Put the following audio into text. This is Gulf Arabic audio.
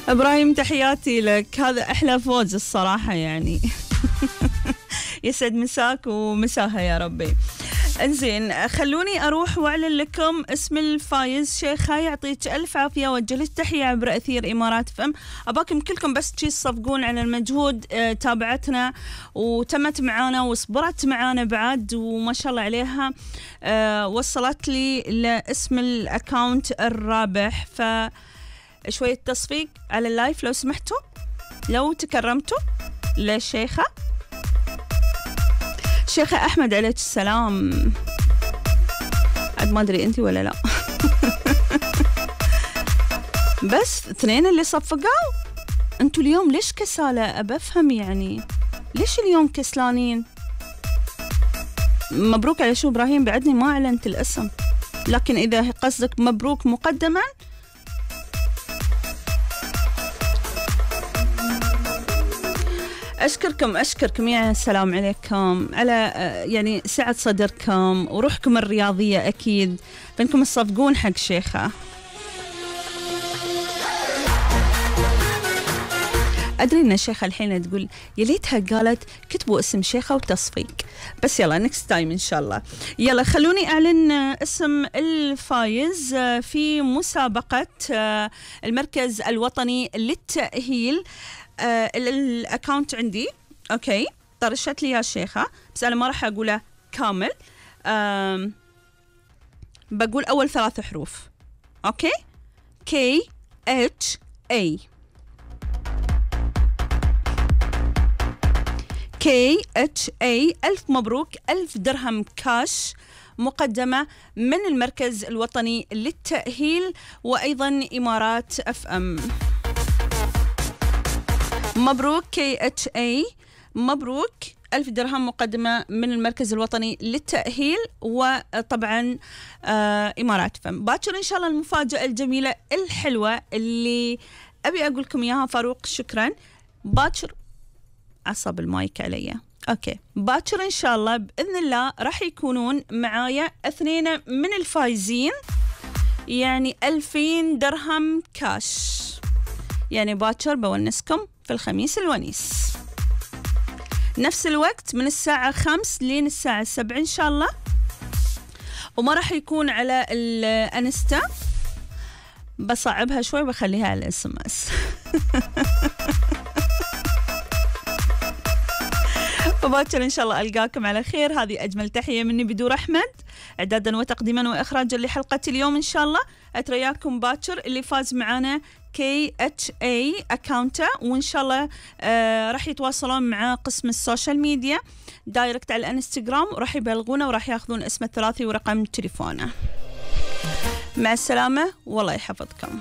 إبراهيم تحياتي لك، هذا أحلى فوز الصراحة يعني. يسعد مساك ومساها يا ربي. انزين خلوني أروح وأعلن لكم اسم الفايز. شيخة يعطيك ألف عافية، وجه لك تحية عبر أثير إمارات فم. أباكم كلكم بس تصفقون على المجهود، تابعتنا وتمت معانا وصبرت معانا بعد، وما شاء الله عليها وصلت لي لاسم الأكاونت الرابح. فشوية تصفيق على اللايف لو سمحتوا، لو تكرمتوا للشيخة. شيخة أحمد عليك السلام. عاد ما أدري أنتي ولا لا. بس اثنين اللي صفقوا. أنتوا اليوم ليش كسالة؟ أبى أفهم يعني ليش اليوم كسلانين؟ مبروك على شو إبراهيم؟ بعدني ما أعلنت الاسم، لكن إذا قصدك مبروك مقدما أشكركم يعني. السلام عليكم على يعني سعة صدركم وروحكم الرياضية، أكيد فإنكم تصفقون حق شيخة. أدري إن الشيخة الحين تقول يا ليتها قالت كتبوا اسم شيخة وتصفيق، بس يلا نكست تايم إن شاء الله. يلا خلوني أعلن اسم الفايز في مسابقة المركز الوطني للتأهيل. الأكاونت عندي أوكي، طرشت لي يا شيخة، بس أنا ما راح أقوله كامل، بقول أول 3 حروف. أوكي، KHA KHA. ألف مبروك، 1000 درهم كاش مقدمة من المركز الوطني للتأهيل وأيضا إمارات FM. مبروك KHA، مبروك 1000 درهم مقدمة من المركز الوطني للتأهيل وطبعا إمارات فم. باكر إن شاء الله المفاجأة الجميلة الحلوة اللي أبي أقول لكم إياها. فاروق شكرا. باكر عصب المايك علي. أوكي، باكر إن شاء الله بإذن الله راح يكونون معايا 2 من الفايزين، يعني 2000 درهم كاش. يعني باكر بونسكم في الخميس الونيس، نفس الوقت من الساعة 5 لين الساعة 7 إن شاء الله. وما راح يكون على الانستا، بصعبها شوي بخليها على الSMS. فباكر إن شاء الله ألقاكم على خير. هذه أجمل تحية مني بدور أحمد، إعدادا وتقديما وإخراجا لحلقة اليوم إن شاء الله. أترياكم باكر اللي فاز معانا KHA أكاونته، وإن شاء الله راح يتواصلون مع قسم السوشيال ميديا دايركت على الانستغرام، وراح يبلغونه وراح ياخذون اسمه الثلاثي ورقم تليفونه. مع السلامة والله يحفظكم.